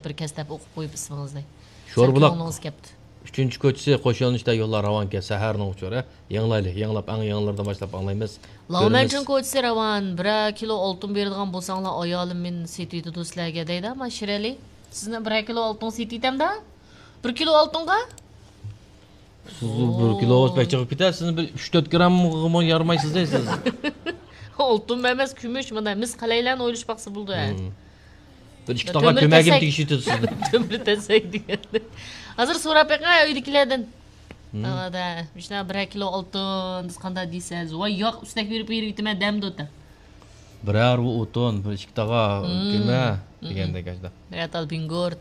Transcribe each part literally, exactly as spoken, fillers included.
بىر كەستەپ ئوقۇپ قويۇپ ئىسمىڭىزنى. شوربۇلاق سەل كۆڭلىڭىز كەپتۇ. ئۈچىنچى كوچىسى قوش يۆنىلىشتە يوللار راۋانكەن، سەھەرنىڭ ئۇچۇرى. يېڭىلايلى، يېڭىلاپ، ئەڭ يېڭىلىرىدىن باشلاپ ئاڭلايمىز. كۆرىمىز. لاۋمەنچىڭ كوچىسى راۋان، بىرەر كىلو ئالتۇن بېرىدىغان بولساڭلار، ئايالىم مېنى سېتىۋېتىدۇ سىلەرگە دەيدۇ، ئەمما شىرئەلى. سىزنى بىرەر كىلو ئالتۇن سېتىۋېتەمدۇ؟ بىر كىلو ئالتۇنغا؟ سىز بىر كىلو بەك چىقىپ كېتەر، سىزنى بىر ئۈچ تۆت گرامغىمۇ يارىمايسىز دەي سىز. ئالتۇنمۇ ئەمەس، كۈمۈش، مانا مىس قەلەيلەرنى ئويلىشىپ باقسا بولىدۇ، ھە. مم. بىر ئىككى تاغا تۆمۈر كۆمەگىم تەسەك. تېگىشىۋېتىدۇ سىزنى. تۆمۈر تەسەك دېگەندەك. ھازىر سوراپ بېقىڭ ئۆيدىكىلەردىن. مم. تاغادا، مۇشۇنداق بىرەر كىلو ئالتۇن، بىز قانداق دەيسىز؟ ۋاي ياق، ئۈستەك بېرىپ بېرىۋېتىمەن دەمدۇ. بىرەر ئۇ ئوتۇن، بىر ئىككى تاغا كۆمە دېگەندەك ئاشۇنداق. بىرەر تال بىڭگۇر.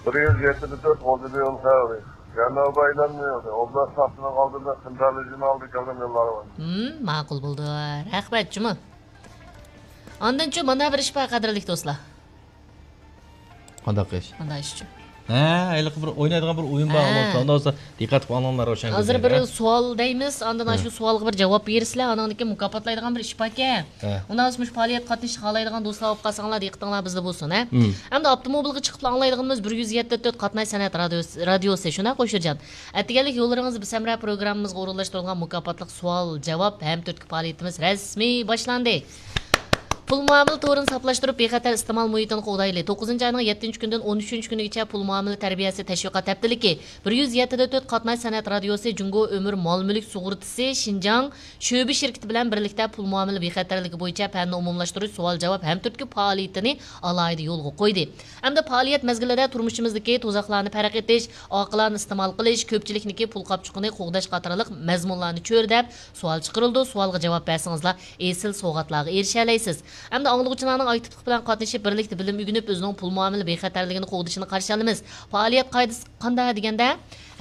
بىر يۈز يەتتە تۆت غوجىدا يول خەۋىرى. جەنۇبىي ئايلانما يولى. ئوبلاست ساپىنىڭ ئالدىدا، خېنتەلى جىمى ئالدى كەلگەن يوللار بار. ھىم، ماقۇل بولدى. رەھمەت جۇمۇ. ئاندىنچۇ مانا بىر ئىش بار، قەدىرلىك دوستلار. قانداق ئىش؟ قانداق ئىشچۇ؟ ھە، ھېلىقى بىر ئوينايدىغان بىر ئويۇن بار. ھە. ئۇندا بولسا دىققەت قىلىپ ئاڭلاڭلار، روشەن. ھازىر بىر سوئال دەيمىز، ئاندىن ھە. شۇ سوئالغا بىر جاۋاب بېرىسىلەر، ئانىڭدىن كېيىن مۇكاپاتلايدىغان بىر ئىش باركەن. ھە. ئۇنداق بولسا مۇشۇ پائالىيەتكە قاتنىشىش خالايدىغان دوستلار بولۇپ قالساڭلار، دىققىتىڭلار بىزدە بولسۇن، ھە. مم. ئەمدى ئاپتوموبىلغا چىقىپلا ئاڭلايدىغىنىمىز بىر يۈز يەتتە تۆت قاتناش سەنئەت رادىيوسى، رادىيوسى، شۇنداق قوشۇرجان. ئەتىگەنلىك يوللىرىڭىز بىسەمرە پروگراممىمىزغا ئورۇنلاشتۇرۇلغان مۇكاپاتلىق سوئال، جاۋاب ھەم تۈرتكە پائالىيىتىمىز رەسمىي باشلاندى. پۇل مۇئامىلە تورىنى ساپلاشتۇرۇپ، بىخەتەر ئىستېمال مۇھىتىنى قوغدايلى. توققۇزىنچى ئاينىڭ يەتتىنچى كۈنىدىن ئون ئۈچىنچى كۈنىگىچە پۇل مۇئامىلە تەربىيەسى تەشۋىقات ھەپتىلىكى، بىر يۈز يەتتە تۆت قاتناش سەنئەت رادىيوسى، جۇڭگو ئۆمۈر مال مۈلۈك سۇغۇرتىسى شىنجاڭ شۆبە شىركىتى بىلەن بىرلىكتە پۇل مۇئامىلە بىخەتەرلىكى بويىچە پەننى ئومۇملاشتۇرۇش سوئال جاۋاب ھەم تۈرتكە پائالىيىتىنى ئالاھىدە يولغا قويدى. ئەمدى پائالىيەت مەزگىلىدە تۇرمۇشىمىزدىكى تۇزاقلارنى پەرق ئېتىش، ئاقىلانە ئىستېمال قىلىش، كۆپچىلىكنىڭكى پۇل قاپچۇقىنى قوغداش قاتارلىق مەزمۇنلارنى چۆرىدەپ، سوئال چىقىرىلىدۇ. سوئالغا جاۋاب بەرسىڭىزلا، ئېسىل سوۋغاتلارغا ئېرىشەلەيسىز. ئەمدى ئاڭلىغۇچىلارنىڭ ئاكتىپلىق بىلەن قاتنىشىپ، بىرلىكتە بىلىم ئۆگىنىپ، ئۆزىنىڭ پۇل مۇئامىلە بىخەتەرلىكىنى قوغدىشىنى قارشى ئالىمىز. پائالىيەت قائىدىسى قانداق دېگەندە،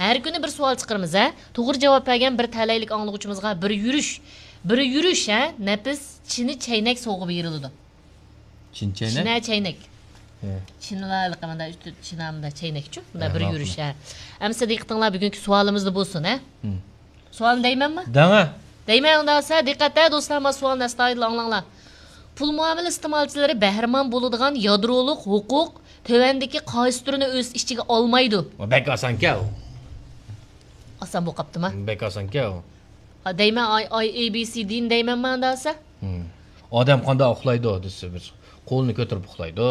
ھەر كۈنى بىر سوئال چىقىرىمىز، ھە؟ توغرا جاۋاب بەرگەن بىر تەلەيلىك ئاڭلىغۇچىمىزغا بىر يۈرۈش، بىر يۈرۈش، ھە؟ نەپىس چىنە چەينەك سوۋغا بېرىلىدۇ. چىنە چەينەك؟ چىنە چەينەك. ھە. چىنىلار ھېلىقى مۇنداق ئۈستى چىنا مۇنداق چەينەكچۇ. مۇنداق ھە، بىر ماقۇل. يۈرۈش، ھە. ئەمسە دىققىتىڭلار بۈگۈنكى سوئالىمىزدا بولسۇن، ھە؟ ھىم. سوئالنى دەيمەنمۇ؟ دەڭە. دەيمەن ئۇنداق بولسا، دىققەت ھە دوستلار، ما سوئالنى ئەستايىدىل ئاڭلاڭلار. پۇل مۇئامىلە ئىستېمالچىلىرى بەھرىمەن بولىدىغان يادرولۇق ھوقۇق تۆۋەندىكى قايسى تۈرنى ئۆز ئىچىگە ئالمايدۇ؟ بەك ئاسانكەن ئۇ. ئاسان بولۇپ قاپتىما؟ بەك ئاسانكەن ئۇ. ھا، دەيمەن، ئاي، ئاي، ئەي، بى، سى، دىنى دەيمەنما ئۇنداق بولسا؟ ھىم. ئادەم قانداق ئۇخلايدۇ دېسە، بىر قولىنى كۆتۈرۈپ ئۇخلايدۇ،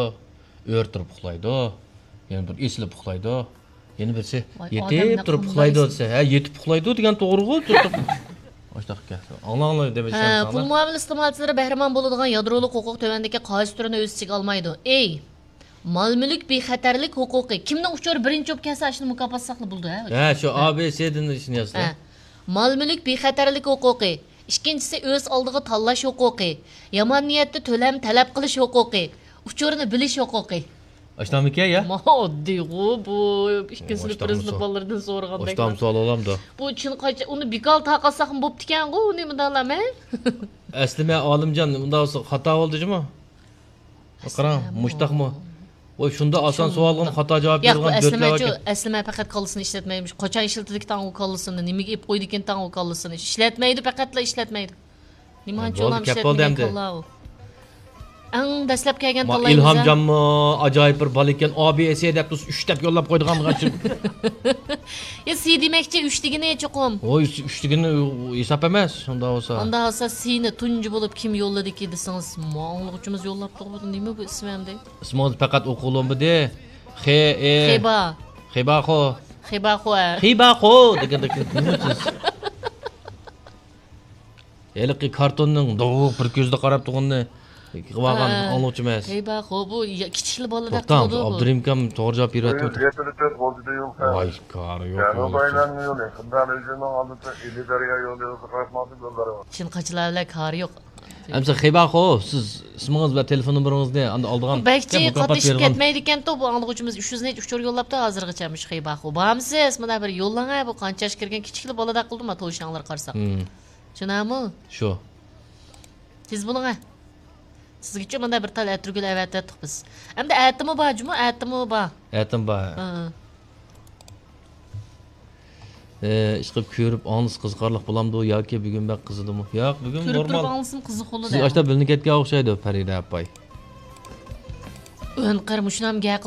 ئۆرە تۇرۇپ ئۇخلايدۇ، يەنە بىر ئېسىلىپ ئۇخلايدۇ، يەنە بىرسى ۋاي، يېتىپ ئادەمنى تۇرۇپ قانداق ئۇخلايدۇ ئېسىلىپ دېسە، ھە، يېتىپ ئۇخلايدۇ دېگەن توغرىغۇ، تۇرۇپ. ئاشۇنداق گەپ. ئاڭلاڭلار دېمەيسەن ھە، ساڭا. پۇل مۇئامىلە ئىستېمالچىلىرى بەھرىمەن بولىدىغان يادرولۇق ھوقۇق تۆۋەندىكى قايسى تۈرىنى ئۆز ئىچىگە ئالمايدۇ؟ ئەي، مال مۈلۈك بىخەتەرلىك ھوقۇقى. كىمنىڭ ئۇچۇرى بىرىنچى بولۇپ كەلسە، ئاشۇنى مۇكاپاتلىساقلا بولىدۇ، ھە؟ ھە، شۇ ھە. ئا بى سى دىن ئىشنى يازسا. ھە. مال مۈلۈك بىخەتەرلىك ھوقۇقى. ئىككىنچىسى، ئۆز ئالدىغا تاللاش ھوقۇقى. يامان نىيەتتە تۆلەم تەلەپ قىلىش ھوقۇقى. ئۇچۇرنى بىلىش ھوقۇقى. ئاشۇنداقمىكەن يا؟ ما ئاددىيغۇ بۇ. ئىككىنچىسىنى ئاشۇنداقمۇ بىرسىنى سوئال. بالىلىرىدىن سورىغاندەك. ئاشۇنداقمۇ سوئال بولامدۇ؟ بۇ چىن قاچا-، ئۇنى بىكار تارقاتساقمۇ بوپتىكەنغۇ، ئۇنى مۇنداقلام، ھە؟ ئەسلىمە ئالىمجان، ئۇنداق بولسا خاتا بولدىجۇمۇ؟ قاراڭ، مۇشتاقمۇ؟ ۋاي، شۇنداق ئاسان سوئالغىمۇ خاتا جاۋاب ياق، بۇ بېرىدىغان ئەسلىمە دۆتلەر چۇ-، باركەن. ئەسلىمە پەقەت كاللىسىنى ئىشلەتمەيمىش. قاچان ئىشلىتىدىكىن تاڭ ئۇ كاللىسىنى؟ نېمىگە ئېلىپ قويدىكىن تاڭ ئۇ كاللىسىنى؟ ئىشلەتمەيدۇ، پەقەتلا ئىشلەتمەيدۇ. نېمانچە بولدى، كەپ بولدى ئەمدى. كاللا ئۇ. ئەڭ دەسلەپ كەلگەن ما، تاللايمىز، ھە؟ ئىلھامجانمۇ ئاجايىپ بىر بالا ئىكەن، ئا بى سى دەپ تۇرسا، ئۈچ دەپ يوللاپ قويىدىغان. يا، سى دېمەكچى، ئۈچ دېگىنى چوقۇم. ۋوي، ئۈچ دېگىنى ھېساب ئەمەس، شۇنداق بولسا. ئانداق بولسا سىنى تۇنجى بولۇپ كىم يوللىدىكى دېسىڭىز، ما ئاڭلىغۇچىمىز يوللاپتۇ، بۇ نېمە بۇ ئىسمى ئەمدى؟ ئىسمىڭىز پەقەت ئوقۇلۇمىدى. خې، ئې. خېبا. خېباخو. خېباخو، ھە. خېباخو دېگەندەك نېمە سىز؟ ھېلىقى كارتوننىڭ دوغۇق بىر كۆزىدە قاراپ تۇرغىنىنى قىلىۋالغان ھە. ئاڭلىغۇچى ئەمەس. ھەي، بار، خو، بۇ يا-، كىچىكلا بالىدەك توختاڭ، قىلىدۇ بۇ. ئابدۇرېھىم ئاكام توغرا جاۋاب بېرىۋاتىدۇ. يەتتە تۆت غوجىدا يول خەۋىرى. ۋاي، كارى يوق، جەنۇبىي يولدىسى. ئايلانما يولى، خېنتەلى جىمىنىڭ ئالدىدا ئىلى دەريا يولى يولىغا قاراپ ماڭسا يوللىرى بار. چىن قاچىلار بىلەن كارى يوق. ئەمسە خېباخو، سىز ئىسمىڭىز ۋە تېلېفون نومۇرىڭىزنى ئاندىن ئالىدىغان بۇ بەكچى گەپ مۇكاپات قاتنىشىپ بېرىدىغان. كەتمەيدىكەنتۇ، بۇ ئاڭلىغۇچىمىز ئۈچ يۈز نەچچە ئۇچۇر يوللاپتۇ ھازىرغىچە مۇشۇ خېباخو. بارمسىز؟ مانا بىر يوللاڭ ھە، بۇ قانچە ياشقا كىرگەن كىچىكلا بالىدەك قىلدى ما توشاڭلار قارىساق. ھىم. چۈشىنەمۇ؟ شۇ. تېز بولۇڭ ھە. سىزگىچۇ مانا بىر تال ئەتىرگۈل ئەۋەتىۋەتتۇق بىز. ئەمدى ئەتىمۇ بار جۇمۇ، ئەتىمۇ بار. ئەتىم بار. ھە. ئى، ئىشقىلىپ كۆرۈپ ئاڭلىسا قىزىقارلىق بولامدۇ ياكى بۈگۈن بەك قىزىدىمۇ؟ ياق، بۈگۈن كۆرۈپ نورمال. تۇرۇپ ئاڭلىسىمۇ قىزىق بولىدۇ. سىز ئاشتا بىلىنىپ كەتكەن ئوخشايدۇ، پەرىدە ئاپاي. ئۆنقەر مۇشۇنام گەپ